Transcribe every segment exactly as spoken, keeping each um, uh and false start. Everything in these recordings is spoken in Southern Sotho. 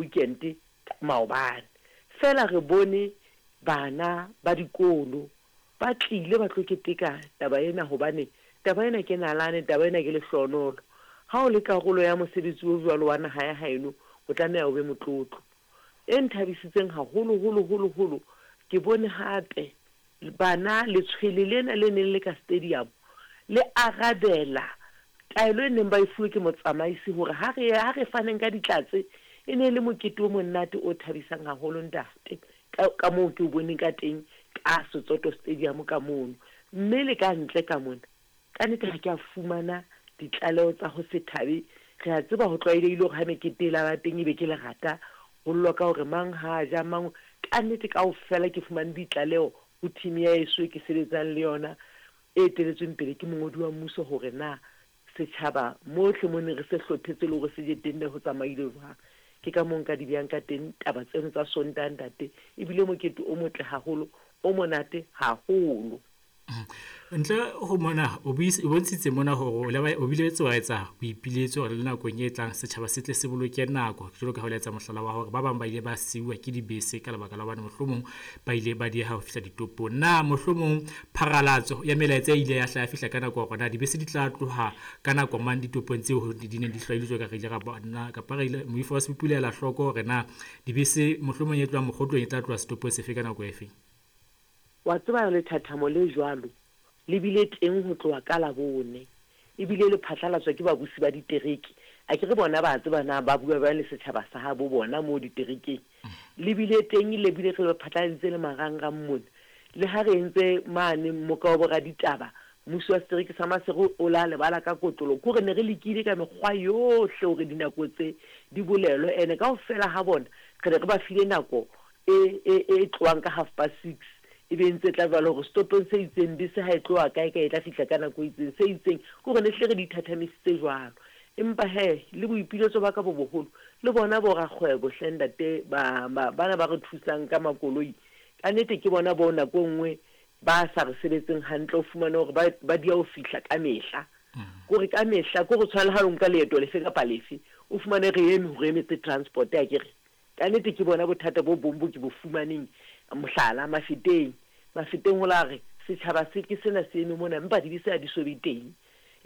Weekend maobane feela re bone bana ba dikolo ba tlile ba tlo keteka taba ena, hobane taba ena ke nalane, taba ena ke lehlohonolo. Ha o le karolo ya mosebetsi o jwalo wa naha ya haeno, o tlameha o be motlotlo. E nthabisitseng haholo holo holo holo, ke bone hape bana letshwele lena le neng le ka stadium le arabela taelo e neng ba e fuwe ke motsamaisi hore ha re ha re faneng ka ditlatse. E ne e le mokete o monate o thabisang haholo, ntate, ka ka moo ke o boneng ka teng ka Setsoto Stadium ka mono. Mme le ka ntle ka mona, ka nnete ha ke a fumana ditlaleho tsa ho se thabe. Re a tseba ho tlwaelehile hore ha mekete e laba teng ebe ke lerata, ho llwa ka hore mang ha ja mang. Ka nnete kaofela ke fumane ditlaleho ho team ya heso e ke sebetsang le yona, e eteletsweng pele ke mongodi wa mmuso, hore na setjhaba mohle mo ne re se hlophetse le hore se je teng ne ho tsamaile jwang. Ke ka moo nka di behang ka teng taba tseno tsa Sontaha, ntate. Ebile mokete o motle haholo, o monate haholo. Ntle ho mona, o bontshitse mona hore o bile wa etsa boipiletso hore le nakong e tlang setjhaba se tle se boloke nako, jwalo ka ha o etsa mohlala wa hore ba bang ba ile ba siuwa ke dibese ka lebaka la hobane mohlomong ba ile ba dieha ho fihla ditopong. Na mohlomong pharalatso ya melaetsa e ile ya hla ya fihla ka nako hore na dibese di tla tloha ka nako mang ditopong tseo di neng di hlwailwe, jwalo ka re ile ra bona kapa re ile moifo wa Sebupi o ile ela hloko hore na dibese mohlomong e tlohang Mokgotlong e tla tloha setopong sefe ka nako efe? Wa tseba, lethathamo le jwalo le bile teng ho tloha ka Labone, ebile le phatlalatswa ke babusi ba ditereke. Akere bona ba tseba na ba bua jwang le setjhaba sa habo bona moo diterekeng. Le bile teng, le bile re le phatlaladitse le marangrang mona. Le ha re entse mane mmoka wa boraditaba, mmuso wa setereke sa Maseru o la lebala ka kotlolo. Ke hore ne re lekile ka mekgwa yohle hore dinako tse di bolelwe, ene kaofela ha bona re ne re ba file nako e e e tlohang ka half past six, e be ntse tla jwalo hore setopong se itseng bese ha e tloha kae kae e tla fihla ka nako e itseng, se itseng. Ke hore ne hlile re di thathamisitse jwalo. Empa hee le boipiletso ba ka bo boholo le bona bo rakgwebo hle ntate, ba bana ba re thusang ka makoloi, ka nnete ke bona bo nako e nngwe ba sa re sebetseng hantle. O fumane hore ba ba dia ho fihla ka mehla, kore ka mehla ke ho tshwana le ha o nka leeto lefe kapa lefe, o fumane re eme hore emetse transport. Akere ka nnete ke bona bothata bo bong bo ke bo fumaneng. Mohlala, Mafeteng. Mafeteng ho la re setjhaba se ke sena se eme mona, empa dibese ha di so be teng,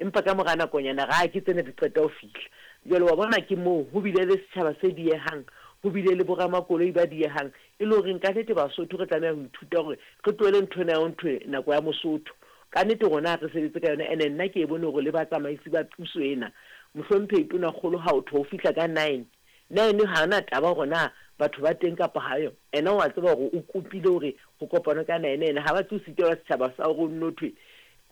empa ka mora nakonyana ra ke tsena di qeta ho fihla. Jwale wa bona ke moo ho bile le setjhaba se diehang, ho bile le boramakoloi ba diehang, e le horeng ka nnete Basotho re tlameha ho ithuta hore re tlohele ntho ena ya ho nthwe nako ya Mosotho. Ka nnete rona ha re sebetse ka yona. Ene nna ke e bone hore le batsamaisi ba puso ena, mohlomphehi Tonakgolo, ha o thwe ho fihla ka nine, nine ha hona taba hore na batho ba teng kapa ha yo. Ena wa tseba hore o kopile hore ho kopanwe ka nine, ene ha ba tlo sitelwa setjhaba sa hore o nno thwe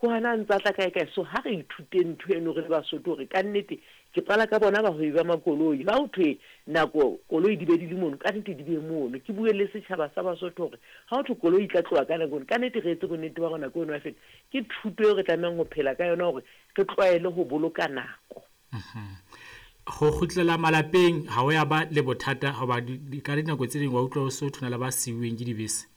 ho hana ntsa tla kae kae. So ha re ithuteng ntho eno re le Basotho, hore ka nnete ke qala ka bona bahwebi ba makoloi, ha ho thwe nako koloi di be di le mono, ka nnete di be mono. Ke bue le setjhaba sa Basotho hore ha ho thwe koloi e tla tloha ka nako eno, ka nnete re etse bonnete ba hore nako eno ya feta. Ke thuto eo re tlamehang ho phela ka yona hore re tlwaele ho boloka nako. Ho kgutlela malapeng ha o ya ba le bothata, hoba ka dinako tse ding wa utlwa o so thona le ba siuweng ke dibese?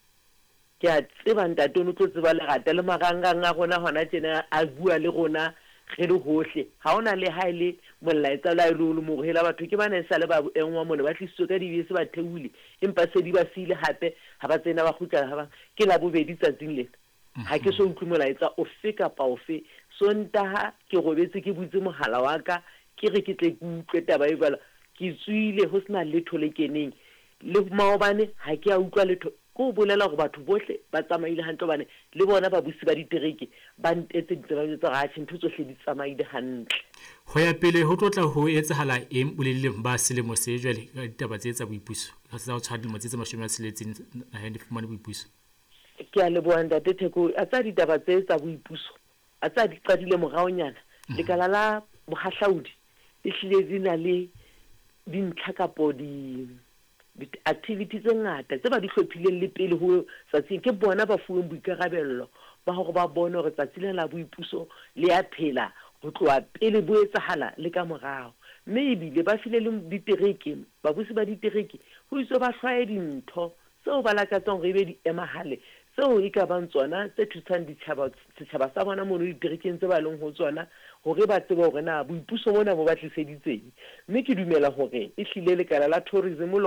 Ke a tseba ntate, o no tlo tseba lerata le marangrang a rona hona tjena a bua le rona re le hohle. Ha hona le ha e le molaetsa le ha e le o le mong hela batho ke bana e sale ba engwa mona, ba tlisitswe ka dibese, ba theohile, empa se di ba siile hape ha ba tsena ba kgutlela ha ba ke Labobedi tsatsing lena. Ha ke so utlwe molaetsa ofe kapa ofe. Sontaha ke robetse ke butse mohala wa ka, ke re ke tle ke utlwe taba e jwalo, ke tswile ho sena letho le keneng. Le maobane ha ke a utlwa letho. Ke ho bolela hore batho bohle ba tsamaile hantle, hobane le bona babusi ba ditereke ba ntetseditse ba njwetsa hore atjhe ntho tsohle di tsamaile hantle. Ho ya pele ho tlo tla ho etsahala eng boleleng ba selemo se jwale ka ditaba tse tsa boipuso, tsa ho tshwara dilemo tse tse mashome a tsheletseng naheng di fumane boipuso? Ke a leboha ntate Theko. A tsa ditaba tse tsa boipuso a tsa di qadile moraonyana, lekala la bohahlaudi e hlile di na le dintlha kapo di di-activity tse ngata tse ba di hlophileng le pele ho tsatsing. Ke bona ba fuweng boikarabello ba hore ba bone hore tsatsi lena la boipuso le ya phela ho tloha pele bo etsahala le ka morao. Mme ebile ba file le ditereke, babusi ba ditereke, ho itswe ba hlwaye dintho tseo ba lakatsang hore ebe di emahale tseo e ka bang tsona tse thusang ditjhaba setjhaba sa bona mono diterekeng tse ba leng ho tsona hore ba tsebe hore na boipuso bona bo ba tliseditseng. Mme ke dumela hore ehlile lekala la tourism